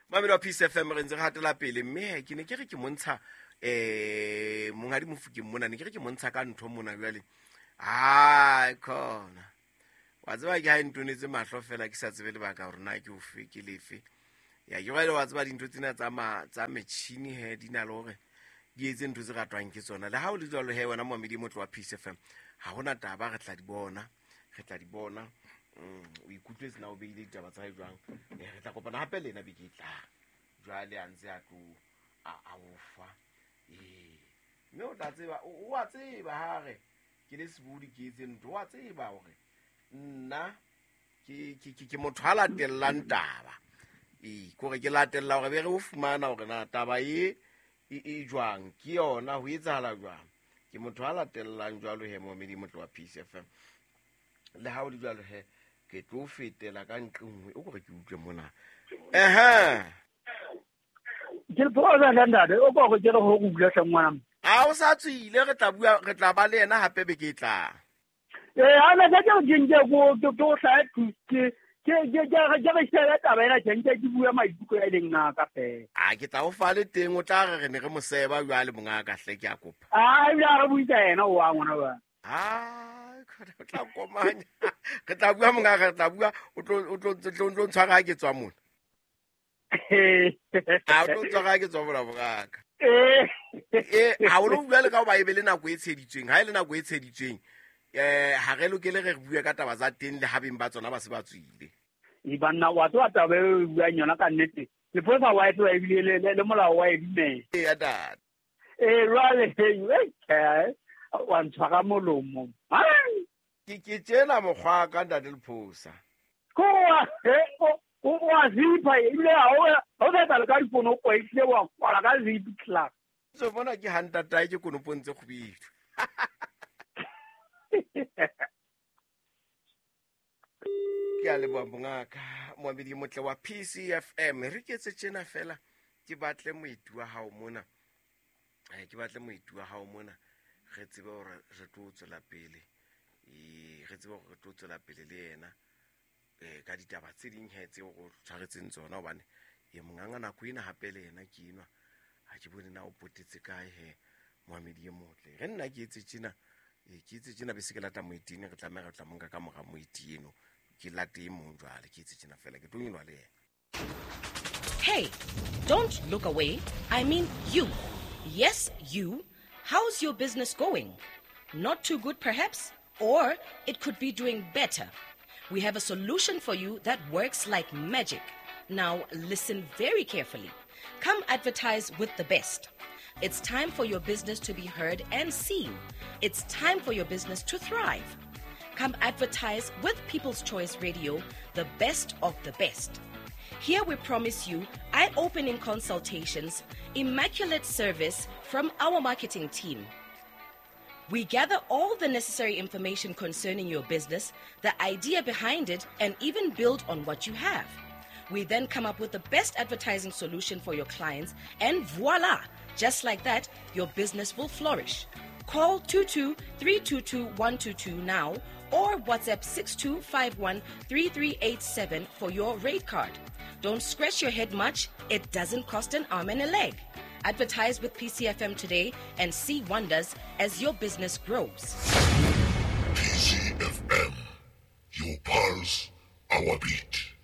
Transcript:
Mamedi wa Peace FM, re ntse re hatela pele, mme ke ne ke re ke montsha monghadi Mofokeng mona, ne ke re ke montsha ka ntho mona jwale. Hai khona. Wa tseba ke ha e ntonetse mahlo fela ke sa tsebe lebaka hore na ke ofe ke lefe. Ya ke jwale wa tseba dintho tsena tsa ma tsa metjhini he di na le hore di etse ntho tse ratwang ke tsona. Le ha o le jwalo he wena momamedi motlo wa Peace FM, ha hona taba, re tla di bona. Re tla di bona. O ikutlwetse na o beile ditaba tsa hae jwang? Re tla kopana hape le yena beke e tlang. Jwale a ntse a tlo a o fa. Mme o tla tseba, o a tseba ha re ke le sebodi ke etse ntho, o a tseba hore nna ke motho a latellang taba. Kore ke latella hore be re o fumana hore na taba e e jwang, ke yona ho etsahala jwang. Ke motho a latellang jwalo he momamedi motlo wa Peace FM. Le ha o le jwalo he ke tlo fetela ka ntle nngwe o kore ke utlwe mona. Ehe. Ke le phosa ka ntate, o kore ke re ho go bua hle ngwana. A o sa tswile, re tla bua, re tla ba le yena hape beke e tlang. Ha na ka ke ke nke go ke go hlae ke ke ke ke ke re shebe taba ena ke nke ke bua maikutlo a leng ngaka fela. A ke tla o fa le teng, o tla re re ne re mo seba jwale mongaka hle, ke a kopa. A ebile a re buisa yena o wa ngwana ba. Ha o tla komanya. Re tla bua mongaka, re tla bua, o tlo ntshwara ha ke tswa mona. A o tlo ntshwara ha ke tswa mona mongaka. Ha o lo bua le ka hoba e be le nako e tsheditsweng, ha e le nako e tsheditsweng, ha re lokele re bue ka taba tsa teng le ha beng ba tsona ba se ba tswile. E banna wa tseba taba e o buang yona ka nnete. Lepolesa wa e tseba ebile le molao wa e dumela. Eya, ntate. Jwale, wa ntshwara molomo. Ke tjena mokgwa ka ntate Lephosa. Ko wa zipha ebile ha o sa etsa le ka dikonopo, ehlile wa kwala ka zip class. So bona ke ha ntatae ke konopong tse kgubedu. Ke a leboha mongaka, moamedi motle wa PCFM. Re ke etse tjena fela, ke batle moeti wa hao mona. Ke batle moeti wa hao mona, re tsebe hore re tlo tswela pele. Re tsebe hore re tlo tswela pele le yena. Ka ditaba tse ding he tseo re tshwaretseng tsona, hobane e monganga nako ena hape le yena ke enwa. Ha ke bone na o potetse kae he moamedi e motle. Re nna ke etse tjena, ke etse tjena bese ke lata moetini, re tlameha re tla monka ka mora moeti eno. Ke late e mong jwale, ke etse tjena fela, ke tlo nyoloha le yena. Hey, don't look away. I mean you. Yes, you. How's your business going? Not too good perhaps? Or it could be doing better. We have a solution for you that works like magic. Now listen very carefully. Come advertise with the best. It's time for your business to be heard and seen. It's time for your business to thrive. Come advertise with People's Choice Radio, the best of the best. Here we promise you eye-opening consultations, immaculate service from our marketing team. We gather all the necessary information concerning your business, the idea behind it, and even build on what you have. We then come up with the best advertising solution for your clients, and voila! Just like that, your business will flourish. Call 22-322-122 now or WhatsApp 6251-3387 for your rate card. Don't scratch your head much. It doesn't cost an arm and a leg. Advertise with PCFM today and see wonders as your business grows. PCFM, your pulse, our beat.